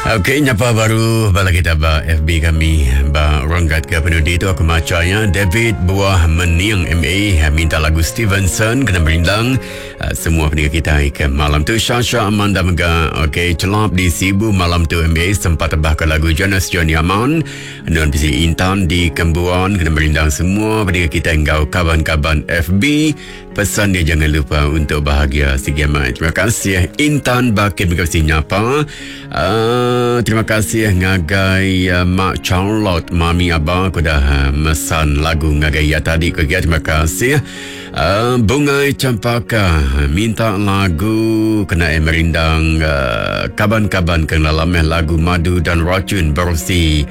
Okey, nyapa baru bala kita ba FB kami ba renggat ke penudi tu aku maca ya David Buah Mening MA minta lagu Stevenson kena merindang eh, semua pendengar kita ke malam tu Shasha Amanda mega okey celap di Sibu malam tu MA sempat tebah ke lagu Jonas Johnny Aman Nuan bisi Intan di Kembuan kena merindang semua pendengar kita enggau kaban-kaban FB Pesan dia jangan lupa untuk bahagia sigi amat. Terima kasih Intan Bakir terima kasih nyapa. Uh, terima kasih ngagai uh, Mak Charlotte, Mami Abah aku dah uh, mesan lagu ngagai ia tadi ke dia. Terima kasih. Uh, Bungai Campaka minta lagu kena merindang uh, kaban-kaban ke dalam lagu Madu dan Racun bersih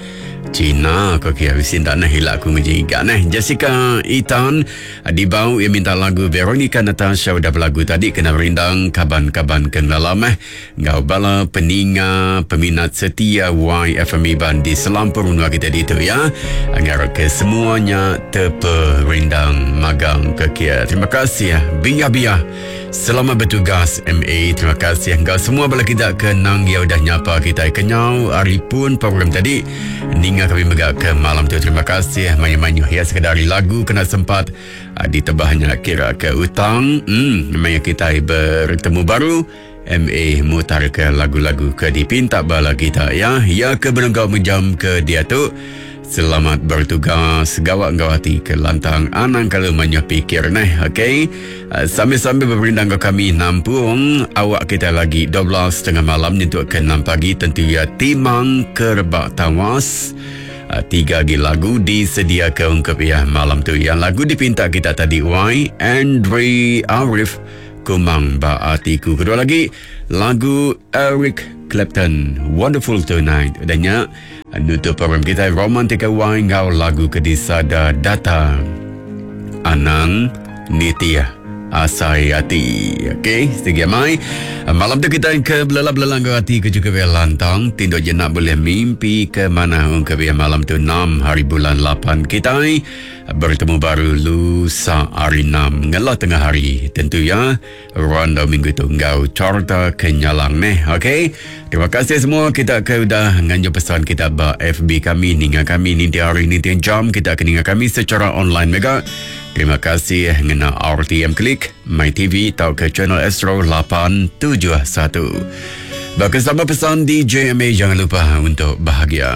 Cina ko kia bisi enda neh ila aku nguji iga neh. Jessica Itan dibau iya minta lagu Veronica Natasha udah belagu tadi kena merindang kaban-kaban ke ngelala meh enggau bala peninga peminat setia YFM Iban di selampur menua kita ditu ya. Ngarap ke semua nya teperindang magang ke kia. Terima kasih biah-biah. Selamat bertugas MA. Terima kasih enggau semua bala kita ke nang ya udah nyapa kita kenyau hari pun program tadi. Ninga kami mega ke malam tu. Terima kasih mayuh-mayuh ya sekadar lagu kena sempat ah, ditebahnya kira ke utang. Hmm, maya kita bertemu baru. MA mutar ke lagu-lagu ke dipinta bala kita ya. Ya ke benenggau menjam ke dia tu. Selamat bertugas gawak enggau ati ke lantang anang kalau manyuh pikir neh okey. Eh, sambil-sambil berperindang enggau kami nampung awak kita lagi 12.30 malam nyentuk ke 6 pagi tentu ya timang kerebak tawas. Eh, tiga lagi lagu disediakan ungkup ya malam tu. Yang lagu dipinta kita tadi Y Andre Arif Kumang Ba Atiku. Kedua lagi lagu Eric Clapton Wonderful Tonight. Dan nya Nutup program kita Romantika Y enggau lagu ke disada data Anang Nitih Asai Ati. Okey, segi amai. Malam tu kita ke belela-belela enggau ati ke juga biar lantang. Tinduk jenak boleh mimpi ke mana ke biar malam tu 6 hari bulan 8 kita bertemu baru lusa hari 6 ngelah tengah hari tentu ya. Randau minggu tu enggau Carta Kenyalang neh. Okey. Terima kasih semua kita ke udah nganjung pesan kita ba FB kami ninga kami ninti hari ninti jam kita ke ninga kami secara online mega. Terima kasih ngena RTM Klik, My TV tau ke channel Astro 871. Baka sama pesan di JMA jangan lupa untuk bahagia.